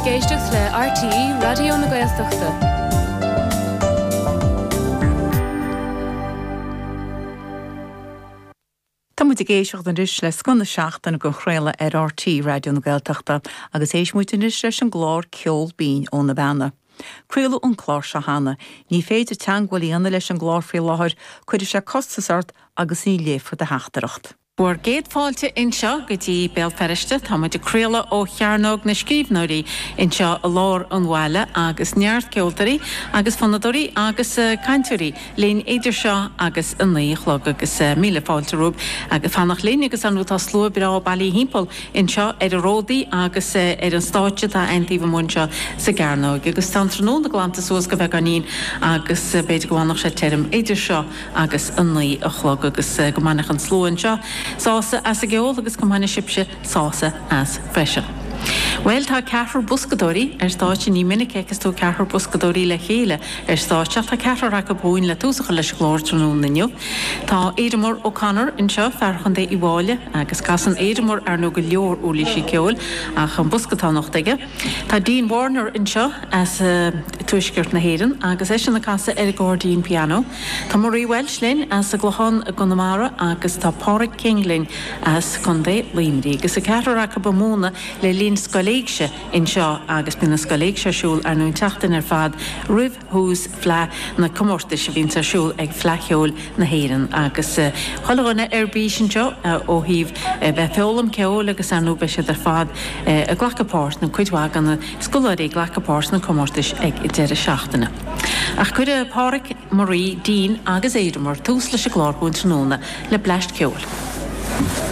ag éisteacht le RTÉ Raidió na Gaeltachta. Tá muid ag éisteacht anois le scoth na seachtaine á chraoladh ar RTÉ Raidió na Gaeltachta agus éistfidh muid anois leis an gclár Ceol Binn ó na Beanna. Craoladh an clár seo cheana. Ní féidir teagmháil a dhéanamh leis an gclár faoi láthair, cuirfidh sé costas ort agus ní léifear do theachtaireacht. Bhur gcéad fáilte anseo go dtí Béal Feirste. Tá muid ag craoladh ó Chearnóg na Scríbhneoirí anseo i lár an bhaile agus neart ceoltóirí agus fonnadóirí agus cainteoirí linn idir seo agus a 9 a chlog agus míle fáilte romhaibh agus fanacht linn agus ar ndóigh tá slua breá bailithe thimpeall anseo ar na ródaí agus ar an stáitse atá ann taobh amuigh anseo sa gcearnóig agus tá an tráthnóna glanta suas go beagáinín agus b'fhéidir go bhfanfadh sé tirim idir seo agus a 9 a chlog agus go mbainfeadh an slua anseo sásamh as an gceol agus go mbainfidh sibhse sásamh as freisin. Bhuel, tá ceathrar boscadóirí ar stáitse, ní minic a fheiceas tú ceathrar boscadóirí le chéile ar stáitse ach tá ceathrar acu chugainn le tús a chur leis an gclár tráthnóna inniu. Tá Aidanmór O'Connor anseo, fear Chontae Uíbh Fháilí, agus casann Aidanmór ar ndóigh go leor uirlísí ceoil ach an bosca atá anocht aige. Tá Dean Warner anseo as tuaisceart na hÉireann agus eisean ag casadh ar accordion piano. Tá Marie Walsh linn as an gClochán i gConamara agus tá Páraic King linn as Contae Luimnigh. Agus an ceathrar acu ag múineadh le linn Scoil Éigse anseo agus bíonn an Scoil Éigse ar siúl ar ndóigh an tseachtain ar fad roimh thús Fleadh na comórtais a bhíonns ar siúl ag Fleadh Cheoil na hÉireann agus chuile dhuine ar bís anseo ó thaobh bheith ag foghlaim ceoil agus ar ndóigh beidh siad ar fad ag glacadh páirt, nó cuid mhaith de na scoláirí ag glacadh páirt sna comórtais ag deireadh seachtaine. Ach cuirfidh Páraic, Marie, Dean agus Aidanmór tús leis an gclár chugainn tráthnóna le bleaist ceoil.